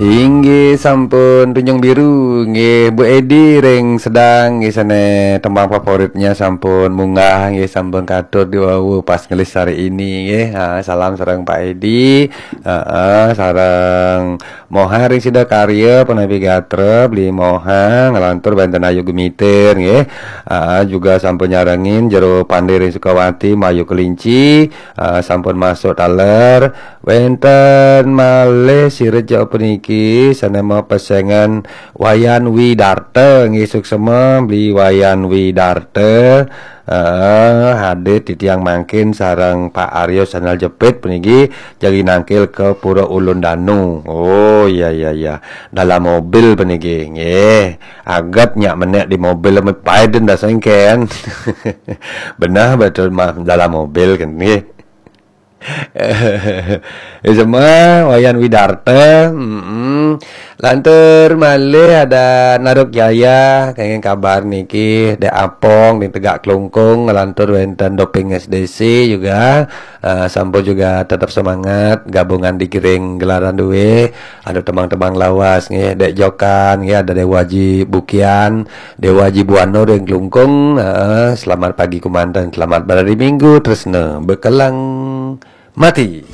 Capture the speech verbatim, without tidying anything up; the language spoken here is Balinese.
Inggih sampun tunjung biru, nggih Bu Edi ring Sedang, nggih sane tembang favoritnya sampun munggah, nggih sampun katur di wau pas ngelis hari ini, nggih. Ha, salam sareng Pak Edi, heeh, sareng Moha ring Sidakarya, Panapi Gatra, Beli Moha, ngelantur wenten Ayu Gemitir, nggih. Ha, juga sampun nyarengin Jero Pande ring Sukawati, Mayu Kelinci, ha, sampun masuk taler, Wenten malih sireja puniki sane mapesengan Wayan Widarta, nggih suksema Beli Wayan Widarta. Eh, hadir titiang mangkin sareng Pak Aryo Sanal Jepit puniki jagi nangkil ke Pura Ulun Danu. Oh, iya, iya, iya. Dalam mobil puniki, nggih. Aget nyak menek di mobil, paiden dasengken. Benah betul mah dalam mobil kan, nggih. Isema Wayan Widarta, mm-mm. Lantur malih ada Naruk Jaya, kenging kabar niki, Dek Apong, di Tegak Klungkung, lantur wenten Doping S D C juga, eh, sampun juga tetap semangat, gabungan di Giring Gelaran Due, ada tembang-tembang lawas, nggih, Dek Jokan, nggih, ada Dewa Haji Bukian, Dewa Haji Buano ring Klungkung, eh, selamat pagi kumanten, selamat berhari Minggu, tresna, bekelang. Mati.